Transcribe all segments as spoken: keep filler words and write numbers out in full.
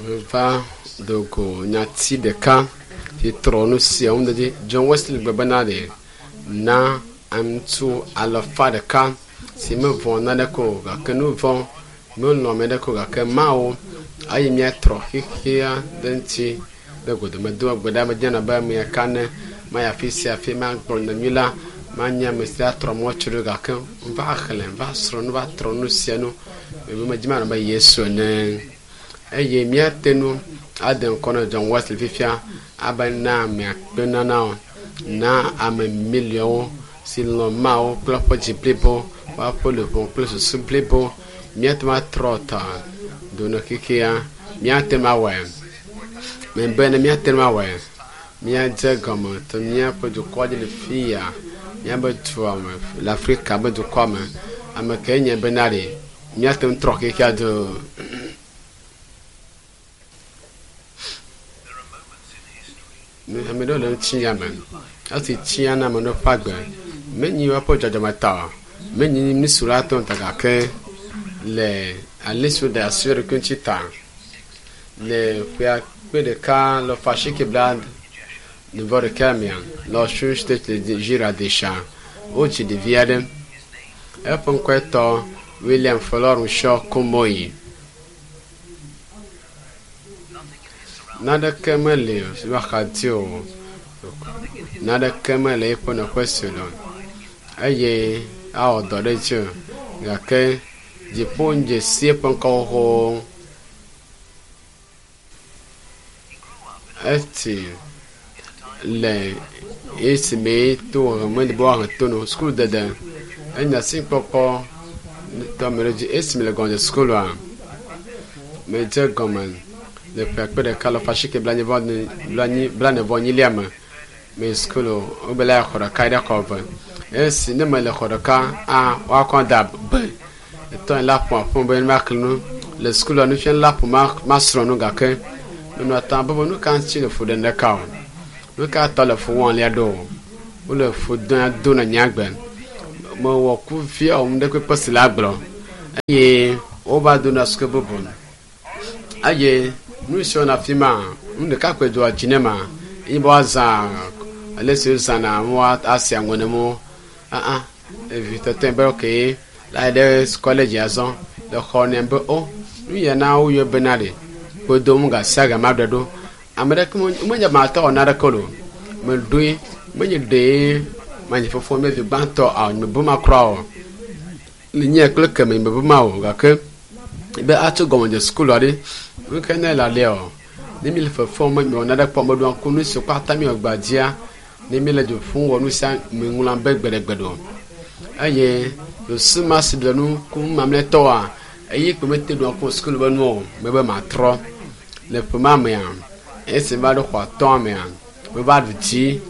Meva do go nyati ɖeka si trɔ nu sia ŋu dzi. John Wesley gblɔ bena ɖe na aŋutsu alafa ɖeka si mevɔ̃ naneke o gake nu vɔ̃ melɔ̃ ame ɖeke o gake Mawu eye míatrɔ xexea ɖe ŋuti ɖe godome do gbe ɖa medze abe ame ɖeka ene mayi afi sia afi magblɔ nyanyui la manye ame si atrɔ mɔ tso ɖo gake va xlẽ va srɔ̃ nu va trɔ nu sia nu ebe medzi manɔ abe Yesu ene eye míate ŋu ade ŋkɔ na John Wesley fifia abe na ame akpe nanawo na ame miliɔnwo si lɔ̃ Mawu kple eƒe dzi blibo woaƒe luʋɔ kple susu blibo míate ŋu atrɔ ta do ne xexea míate ŋu awɔe mebe ne míate ŋu awɔe míadze gɔme to míaƒe dukɔ dzi le fi ya míaƒe dua me le Afrika ƒe dukɔa me ame kae nye bena ɖe míate ŋu trɔ xexea do. There are moments in history Ame ɖewo le ŋutinya me esi tsia na ame ɖewo ƒe agbe menyi woƒe dzɔdzɔme ta o menyi nu si woate ŋu ta gake le ale si woɖe asi wo ɖokui ŋuti ta le ƒe akpe ɖeka le ƒe asieke bla vɔ ɖeka mea le Osun State le Nigeria Desha wodzi ɖevi aɖe eƒe ŋkɔe tɔ William Folorunsho Kumoyi. nothing in his surroundings Naneke meli si woaxa di o naneke mele eƒe nɔƒe si o eye awɔ dɔ ɖe edzi o gake dziƒo dze si eƒe ŋkɔ xoxo he grew up in eti a time le esime to meli be woahe to no sukulu dede enya si kpɔkpɔ tɔ me ɖe dzi esime le gɔme sukulua medze gɔme le ƒe akpe ɖeka le ƒe asieke blanyi vɔ blanyi blane vɔ enyilia me me sukulu wobe la xɔ ɖeka ɖe xɔ eve esi ne mele xɔ ɖeka a woakɔ da be etɔ la ƒo aƒe be maxlẽ nu le sukulua nufiala la ƒo ma masrɔ̃ nu gake menɔ ta be nu ka ŋuti le fu ɖem ɖeka o nu ka tɔ le fu wɔm lia ɖo o wole fu dɔm do na nye agbe mewɔ kuvia wɔm ɖe kpekpe si la gblɔ eye wova do na suku bubu eye nu si wɔna afi ma nu ɖeka koe dzɔa dzi ne ma eye be woazã ale si wozãna mo asi aŋɔ ne mo aa evi tɔtɔe be okay la yi ɖe kɔledzi azɔ le xɔ ne be o nu ya na woyɔ bena ɖe kpodom gasia ga ma ɖe ɖo ame ɖeke menye matɔ wɔ naneke o meɖoe menye ɖee menye fofo me vi gbãtɔ awo nye mebu ma kura o le nye kple keme nye mebu ma o gake be atso gɔmedze sukulu aɖe nu ke ne le alea o ne mi le fefem me miwɔ nane kpɔ meɖo ŋku nu si kpata mi wɔ gbadzia ne mi le dzo ƒum wɔ nu sia mi ŋlɔm be gbeɖegbeɖe o eye susu ma si le nu kum mamlɛtɔa eyi kpe mete ɖo ŋku sukulu be nu o mebe matrɔ le ƒe ma mea esi va ɖo xɔ atɔ̃ mea meva ɖu dzi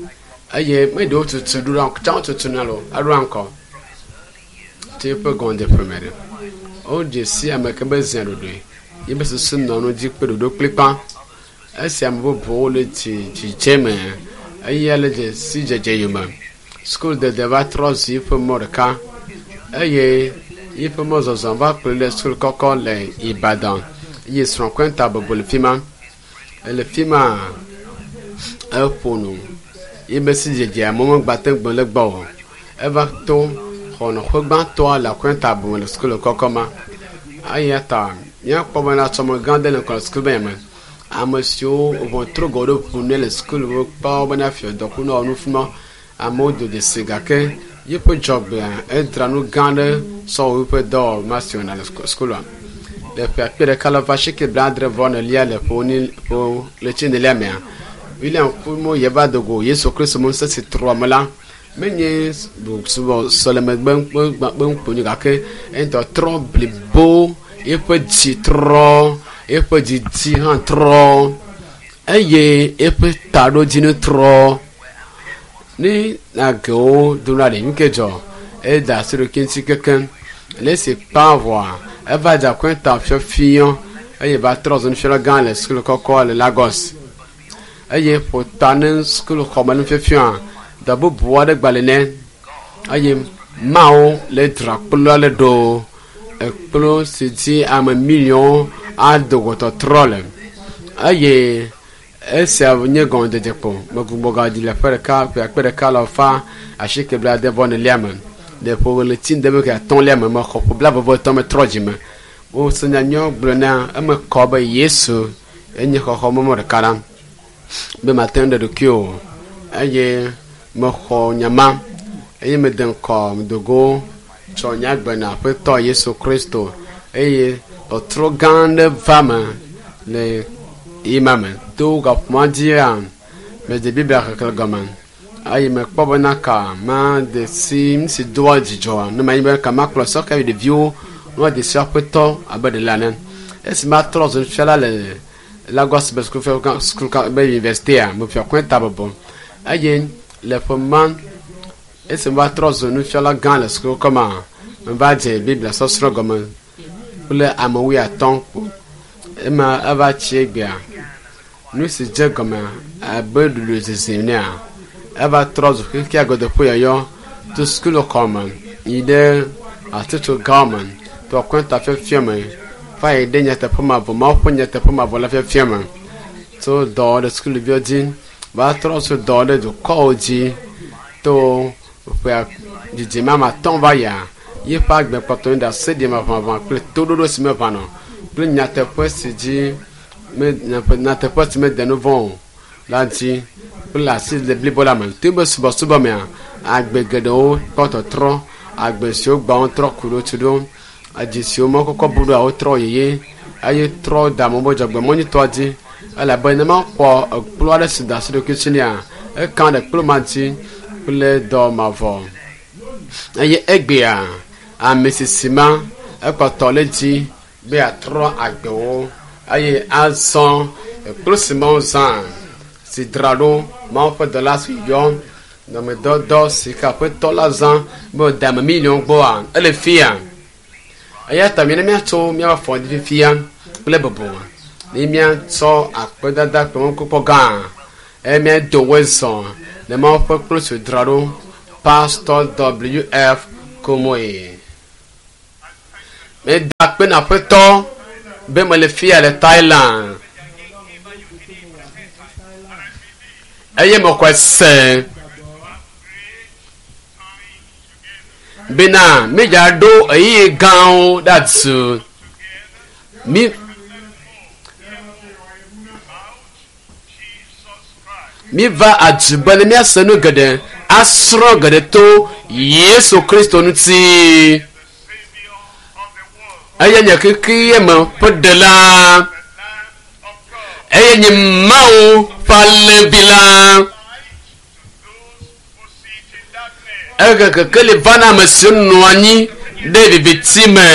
eye me ɖewo tutu ɖo ɖa tsã wotutu na lo eɖo ŋkɔ tso eƒe gɔmedzeƒe me ɖe wodze si ame ke be zia ɖoɖoe yi be susu nɔ nu dzi kple ɖoɖo kplikpa esi ame bubuwo le dzi dzidze me eye le dze si dzedze yome sukulu dede va trɔ zu eƒe mɔ ɖeka eye eƒe mɔzɔzɔ va kplɔe ɖe sukulu kɔkɔ le Ibadan eye srɔ̃ kɔnta bɔbɔ le fi ma ele fi ma eƒo nu yi be si dzedze amewo megbate ŋu gblɔ le gbɔ o eva to xɔ nɔƒe gbãtɔa le akɔnta bu le sukulu kɔkɔ ma eya ta míakpɔ bena tsɔme gã aɖe le ŋkɔ le sukulu be me ame siwo ʋɔtru gɔ ɖo ʋu ne le sukulu wokpɔ bena fia dɔku ne wɔ nu fi ma amewo do dzesi gake yeƒe dzɔgbea edra nu gã aɖe sɔ wɔ eƒe dɔwɔma si wɔna le sukulua le ƒe akpe ɖeka le ƒe asieke blaadre vɔ enelia le ƒe ni ƒe ɣleti enelia mea William Kumo yeva do go Yesu Kristo me ŋusẽ si trɔ ame la menye subɔ sɔleme gbe gake eŋutɔ trɔ blibo eƒe dzi trɔ eƒe dzidzi hã trɔ eye eƒe taɖodzinu trɔ ne agewo dona ɖe nu ke dzɔ eda asi ɖokui ŋuti kekeŋ le esi kpa vɔa eva dze akɔnta fiɔfiɔ eye va trɔ zu nufiala gã le sukulu kɔkɔ le Lagos eye ƒo ta ne sukulu xɔme nufiafiɔa dɔ bubu aɖe gba le nɛ eye mawo le dzra kplu aɖe ɖo ekplu si dzi ame miliɔnwo ado go tɔtrɔ le Eye esia nye gɔmedzedze kpo. Megbugbɔ gadzi le ƒe ɖeka ƒe akpe ɖeka alafa asieke blaade vɔ enelia me. Le ƒe ɣleti ŋdeme atɔ̃lia me mexɔ ƒe blaeve etɔ̃ metrɔ dzime. Wose nyanyuiwo gblɔ na eme kɔ be Yesu enye xɔxɔmemɔ ɖeka ɖa be mate ŋu ɖe ɖokui o eye mexɔ nya ma eye mede ŋkɔ medogo tsɔ nye agbe na Aƒetɔ Yesu Kristo eye tɔtrɔ gã aɖe va me le yi ma me. To gaƒoƒoa dzia medze Biblia xexlẽ gɔme eye mekpɔ bena ka made si nu si doa dzidzɔ ne manyi be ka makplɔ sɔhɛ ɖeviwo ne woade si Aƒetɔ abe ɖela ene. Esi matrɔ zu nufiala le Lagos be sukulu be université mefia kɔnta bɔbɔ eye le ƒe ma esi meva trɔ zu nufiala gã le sukulu kɔma meva dze Biblia sɔsrɔ̃ gɔme kple ame wuiatɔ̃ kpo. Ema eva tsi egbea nu si dze gɔme abe ɖuɖu zizi nea eva trɔ zu xexea godoƒe yɔyɔ to sukulu xɔme yi ɖe hatsotso gãwo me to akɔnta fiafia me va yi ɖe nyateƒe mavɔ Mawu ƒe nyateƒe mavɔ la fiafia me tso dɔ ɖe sukuviwo dzi va trɔ zu dɔ ɖe dukɔwo dzi to ƒe dzidzime ame atɔ̃ va yia yeƒe agbe kpɔtɔ nye ɖaseɖi maʋamaʋã kple toɖoɖo si meʋãna o kple nyateƒe si dzi me nyateƒe si mede nu vɔ̃ o la dzi kple asi le blibo la me. To be subɔsubɔ mea agbe geɖewo kpɔ tɔtrɔ agbe siwo gbã wotrɔ ku ɖo tu ɖo edzi siwo me kɔkɔ bu ɖoa wotrɔ yeye eye trɔ da amewo be dzɔgbemɔ nyuitɔa dzi elabe ne makpɔ ekplu aɖe si da asi ɖokui si nea eka ɖe kplu ma dzi kple dɔ mavɔ eye egbea ame sisi ma ekpɔtɔ le dzi be yeatrɔ agbewo eye azɔ ekplu si Mawu zã si dzra ɖo Mawu ƒe dɔla si yɔ dɔmedɔdɔ si ke Aƒetɔ la zã be wòde ame miliɔn gbɔa ele fia. Eya ta mina míatso míaƒe afɔ dzi fifia kple bubu ne míatsɔ akpedada kple mɔkpɔkpɔ gã eye míado woe zɔ le Mawu ƒe kplu si wòdzra ɖo Pastor W F Kumuyi. Meda akpe na Aƒetɔ be mele fia le Thailand eye mexɔe se bena mídzaɖo ɣeyiɣi gãwo ɖe adu. Mi míva adu be ne míase nu geɖe asrɔ̃ geɖe to Yesu Kristo ŋuti. Eye nye xexea me ƒe ɖela. Eye nye Mawu ƒe alẽvi la. Ehe kekeli va na ame siwo nɔ anyi ɖe viviti me.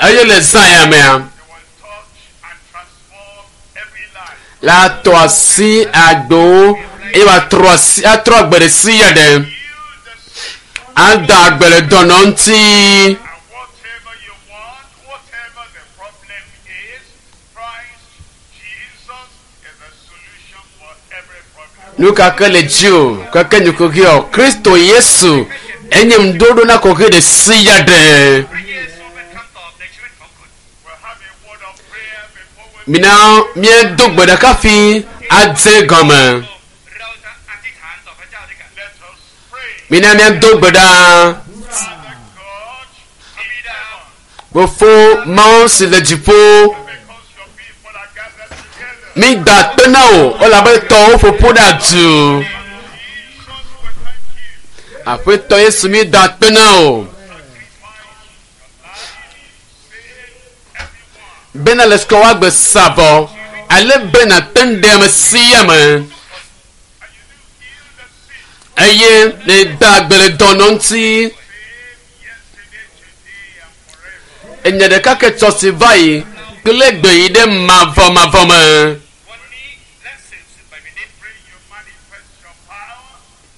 Eye le zã ya mea, la tɔ asi agbewo eye wòatrɔ asi atrɔ agbe ɖe sia ɖe. Ada agbe le dɔnɔ ŋuti. And whatever you want, whatever the problem is, Christ Jesus is the solution for every problem. Nu ka ke le dzi o, keke nye kuxi o, Kristo Yesu enye ŋuɖoɖo na kuxi ɖe sia ɖe. พระเยซูเป็นคำตอบในชีวิตของคุณ We'll have a word of prayer before we Mina míedo gbe ɖeka fi adze gɔme. เราจะอธิษฐานต่อพระเจ้าด้วยกัน let us pray. Mina míado gbe ɖa. Father God, in heaven, Fofo Mawu si le dziƒo, because your people are gathered together. mída akpe na wò elabe tɔwo ƒoƒu ɖe adu. Jesus, we thank you. Aƒetɔ Yesu mída akpe na wò. Sacrifice your life, save everyone. Bena le sukɔ woagbe sa vɔ ale bena te ŋu ɖe ame sia ame. And you do heal the sick. Eye nèda agbe le dɔnɔ ŋuti. Same yesterday, today, and forever. Enye ɖeka ke tsɔ si va yi kple gbe yi ɖe mavɔmavɔ me. วันนี้และสืบสืบไปเป็นนิจ Pray you manifest your power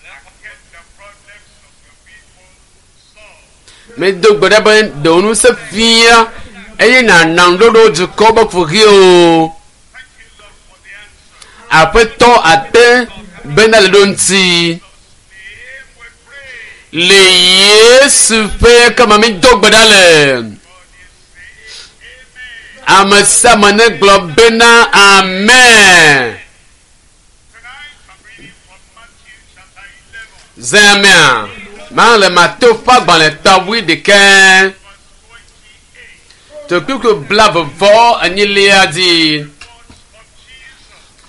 and get the problems of your people solved. Medo gbe ɖa be ɖe wò ŋusẽ fia eye nàna ŋuɖoɖo dukɔ be kuxiwo. Thank you, Lord, for the answer. Aƒetɔ ate bena le ɖo ŋuti. Name we pray. Le Yesu ƒe kama mi do gbe ɖa le. God is saying, Amen. Ame sia ame negblɔ bena amen. Tonight I'm reading from Matthew chapter eleven, Zẽmea, ma le Mateo ƒe agbalẽ ta wuiɖekɛ verse twenty-eight. tokpukpu blaeve vɔ enyilia dzi. Words of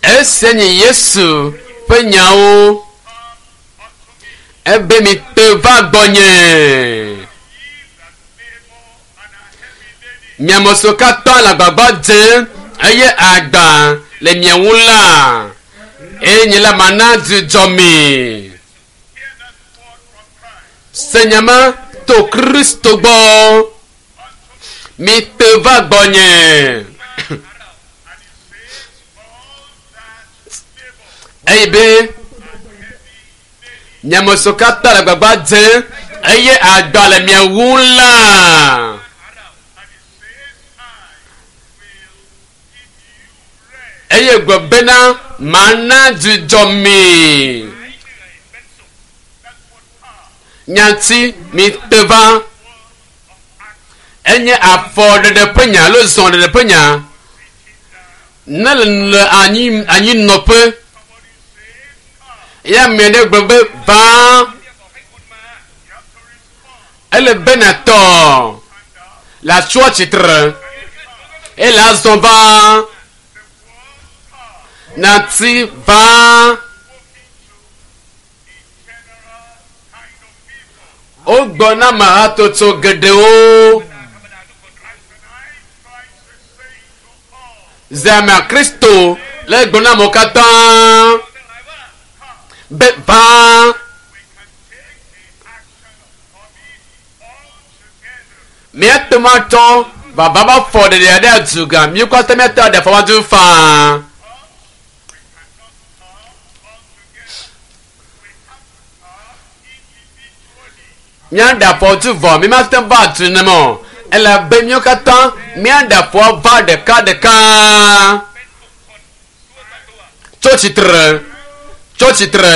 Jesus, Esia nye Yesu ƒe nyawo. come unto me, Ebe mi te va gbɔnye. ye that labor and are heavy laden, Miame siwo katã le agbagba dzem eye agba le mia ŋu la, eye nye la mana dzudzɔ mi. hear that word from Christ. Se nya ma to Kristo gbɔ. Unto me, Mi te va gbɔnye. and he says, all that labor Eye be and heavy laden, miame siwo katã le agbagba dzem eye agba le mia ŋu la, and he says, I will give you rest. eye gblɔ bena mana dzudzɔ mi. หายเหนื่อยเป็นสุข That's what power, Nyati mi te va. word of action, Enye afɔɖeɖe ƒe nya alo zɔɖeɖe ƒe nya. sitting down. Ne le le anyi anyinɔƒe Somebody says, come. ya ame ɖe gblɔ be va ที่จะบอกให้คุณมา You have to respond. ele be natɔ Stand up. le atsyɔ tsitre ยืนขึ้นคุณก็ต้อง eye le azɔ va The word come nati va spoken to a general kind of people. wogbɔ na ame hatsotso geɖewo ธรรมดาทุกคนรู้ And tonight, Christ is saying to all, zeme kristo le gblɔ na amewo katã ทั้งหลายว่า come. be va We can take the action of coming all together. míate ŋu atsɔ vava va fɔ ɖeɖe ɖe aduga míwo katã míate aɖe afɔ va du faa. But we cannot come all together. We have to come individually. míaɖe afɔ du vɔ mi mate ŋu va du ne me o elabe míawo katã míaɖe afɔ va ɖeka ɖeka เป็นบุคคลตัวต่อตัว tso tsitre tso tsitre